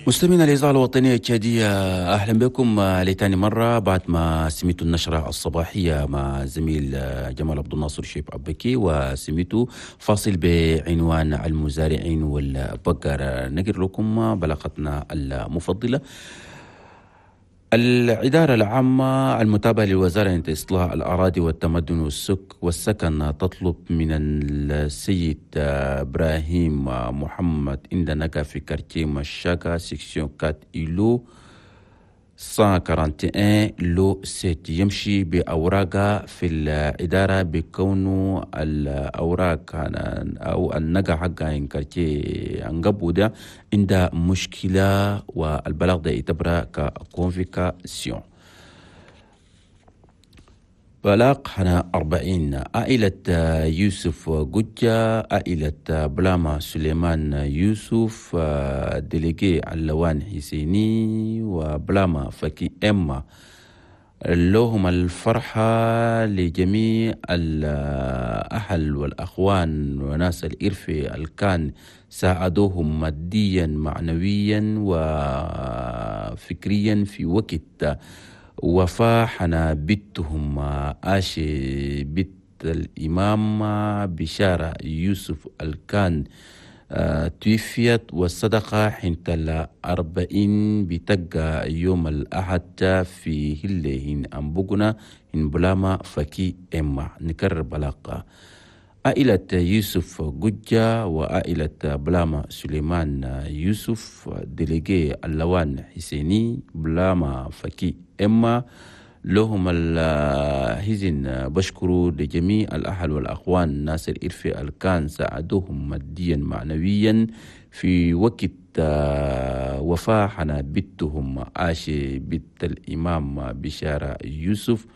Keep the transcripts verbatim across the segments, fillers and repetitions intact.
مستمعينا الإذاعة الوطنية التشادية، أهلا بكم لتاني مرة بعد ما سمعتوا النشرة الصباحية مع زميل جمال عبد الناصر شيب أبكي، وسمعتوا فاصل بعنوان المزارعين والبقر. نقر لكم بلاغتنا المفضلة. الإدارة العامة المتابعة للوزارة لإصلاح الأراضي والتمدن والسك والسكن تطلب من السيد إبراهيم محمد إندنقا في quartier مشاكا section quatre îlot مية وواحد وأربعين lot ستة يمشي بأوراقه في الإدارة، بكونه الأوراق أو النقا حقها إن quartier أنقبو ده عندها مشكلة، والبلاغ ده يعتبر ك convocation. بلاغ هنا أربعين، عائلة يوسف قجة، عائلة بلاما سليمان يوسف، délégué علوان حسيني، وبلاما فكي إما، لهم الفرحة لجميع الأهل والأخوان وناس الإرفي الكان ساعدوهم ماديا، معنويا وفكريا في وقت وفاة حنا بنتهم آشي بنت الإمام بشارة يوسف الكان توفيت، والصدقة حنت الأربعين بتقى يوم الأحد في هله هن أمبوغنا هن بلاما فكي إما. نكرر بلاغ: عائلة يوسف قجة وعائلة بلاما سليمان يوسف، délégué اللوان حسيني، بلاما فكي إما، لهم الحزن بشكروا لجميع الأهل والأخوان ناس الإرفي الكان ساعدوهم ماديا، معنويا في وقت وفاة حنا بنتهم عاشي بنت الإمام بشارة يوسف،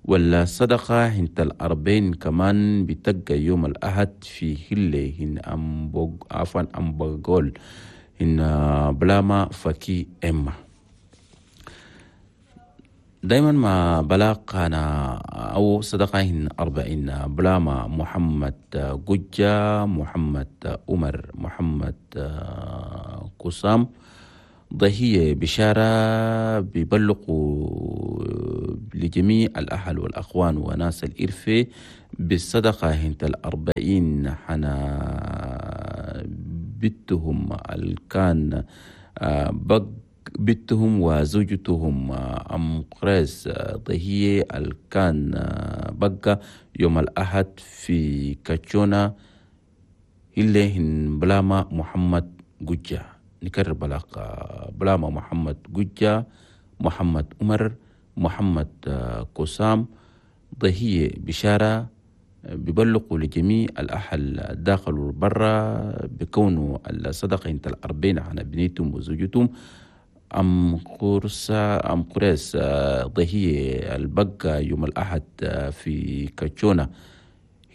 والصدقة هنت الأربعين كمان بتقى يوم الأحد في هلة هن أمبوغ، عفوا، أمبغول هن بلاما فكي إما. دايما ما بلاغ أنا أو صدقة هن أربعين، بلاما محمد قجة، محمد عمر، محمد قسام، ضهية بشارة، بيبلغوا لجميع الأهل والأخوان وناس الإرفة بالصدقة هنت الأربعين حنا بنتهم الكان بق بنتهم وزوجتهم أم قريس ضهية الكان بقى يوم الأحد في كاتشونا اللي هن بلاما محمد قجة. نكرر بلاغ: بلاما محمد قجة، محمد عمر، محمد قسام، ضهية بشارة، بيبلغوا لجميع الأهل داخل وبرا بكونه الصدقة انت الأربعين عن بنيتهم وزوجتهم أم قرصة أم قريس ضهية البقى يوم الأحد في كاتشونا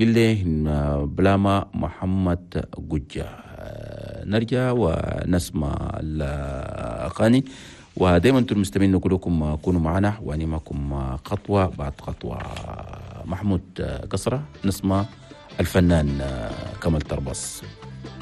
اللي بلاما محمد قجة. نرجع ونسمع الأغاني، ودائما انتم المستمعين نقول لكم كونوا معنا وأنا معكم خطوة بعد خطوة. محمود قصرة، نسمع الفنان كمال تربص.